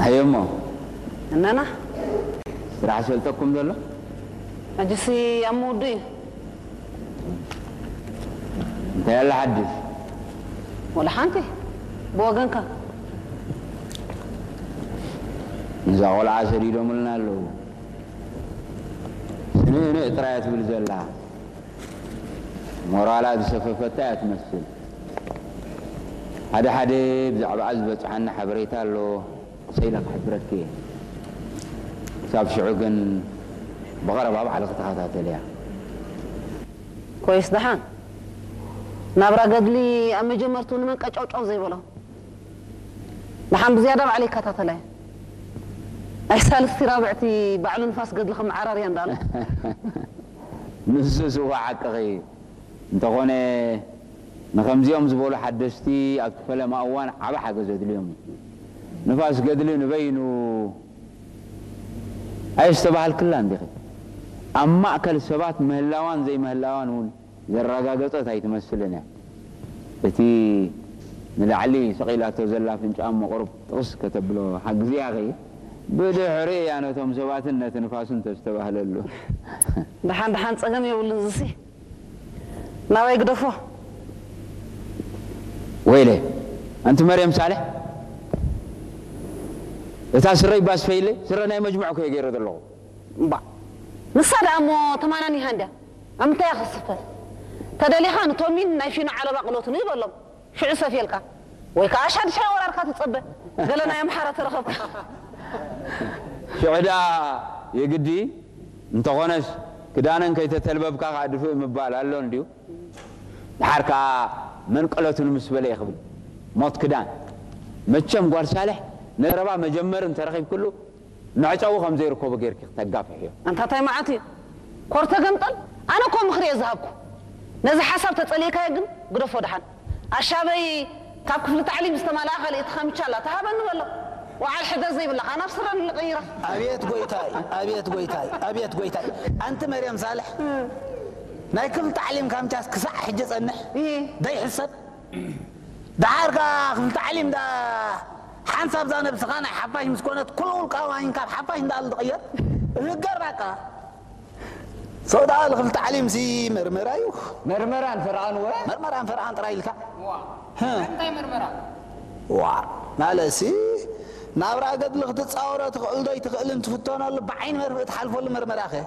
ኣየሞ እነና ስራሕ ሰልጠኩም ዘሎ ሕጂሲ ኣብ ምውዱ እዩ። እንታይ ያለ ሓድሽ ወላ ሓንቲ ብወገንካ ነዛ ቆልዓ ሰዲዶምልና ኣለዉ። ስንእንእ ጥራይ እያ ትብል ዘላ። ሞራላ ዝሰፈፈታ እያ ትመስል። ሓደ ሓደ ብዛዕባኣ ዝበፅሓኒ ሓበሬታ ኣሎ። ክሰይለ ክሕብረኪ እየ። ክሳብ ሽዑ ግን ብቐረባ ባዕልኺ ተኸታተልያ። ኮይስ ደሓን ናብራ ገድሊ ኣብ መጀመርቱ ንመን ቀጫውጫው ዘይበሎ ደሓን ብዝያዳ ባዕለ ይከታተላየ። ኣይ ሳልስቲ ራብዕቲ ባዕሉ ንፋስ ገድሊ ከም ዓራርያ እንዳለ ንሱ ስዋ ሓቅኺ እንተኾነ ንኸምዚኦም ዝበሉ ሓደስቲ ኣብቲ ፈለማ እዋን ዓቢ ሓገዝ ኣድልዮም እዩ። ንፋስ ገድሊ ንበይኑ ኣየስተባሃልክላን ዲኺ? ኣብ ማእከል ሰባት ምህላዋን ዘይምህላዋን እውን ዘረጋገጸት ኣይትመስልን እያ። እቲ ንላዕሊ ሰቒላቶ ዘላ ኣፍንጫኣ እሞ ቁሩብ ጥቕስ ከተብሎ ሓግዝያኺ። ብድሕሪ እያ ነቶም ሰባትን ነቲ ንፋስን ተስተባህለሉ። ደሓን ደሓን ጸገም የብሉን ዝሲ ናባይ ግደፎ ወይለ ኣንቲ መርየም ሳልሕ እታ ስረይ ባስፈይለ ስረ ናይ መጅሙዕ ኮየ ገይረ ዘለኹ። እምባ ንሳ ደኣ እሞ ተማናኒኻ እንድያ ኣብ ምንታይ እያ ክትስፈር ተደሊኻ ንቶሚን ናይ ፊኖ ዓለባ ቅሎትን ይበሎም ሽዑ ሰፍየልካ ወይ ከዓ ሻድሻይ ወራርካ ትጸበ ገለ ናይ ኣምሓራ ተረኸብካ ሽዑ ደኣ የግዲ እንተኾነስ ክዳነን ከይተተልበብካ ከዓ ድፍእ ምባል ኣሎ እንድዩ። ድሓር ከዓ መንቀለቱ ንምስ በለ ይኽብል ሞት ክዳን መቸም ጓል ሳልሕ ነረባ መጀመሪ እንተረኺብክሉ መዕጸዊ ከም ዘይርከቦ ጌርኪ ክተጋፍሕዮ። ኣንታ ታይ መዓት እዩ ኮርተ ገምጠል ኣነ እኮ ምኽሪ እየ ዝሃብኩ ነዚ ሓሳብ ተጸሊእካዮ ግን ግደፎ ደሓን ኣሻበይ ካብ ክፍሊ ታዕሊም ዝተማልኣ ካልእቲ ካምቻ ኣላ ተሃበኒ በሎ ወዓል ሕደር ዘይብላኻ ናብ ስረ ንልቕይራ ኣቤት ጎይታይ ኣቤት ጎይታይ ኣቤት ጎይታይ ኣንቲ መርየም ሳልሕ ናይ ክፍሊ ታዕሊም ካምቻስ ክሳዕ ሕጂ ጸንሕ ደይሕሰብ ደሓር ከኣ ክፍሊ ታዕሊም ዳ ሓንሳብ ዛ ነብስኻ ናይ ሓፋሽ ምስ ኮነት ኩሉ ውልቃዊ ዋኒን ካብ ሓፋሽ እንዳበል ዝቕየር እህገር ባቃ ሰው ደኣ ክፍሊ ታዕሊም ሲ መርመራ እዩ መርመራን ፈርቓን ወ መርመራን ፈርቓን ጥራይ ኢልካ እንታይ መርመራ ዋ ማለሲ ናብራ ገድሊ ክትፃወሮ ትኽእል ዶ ይትኽእልን ትፍተነሉ ብዓይኒ መርፍእ ትሓልፈሉ መርመራ ኸ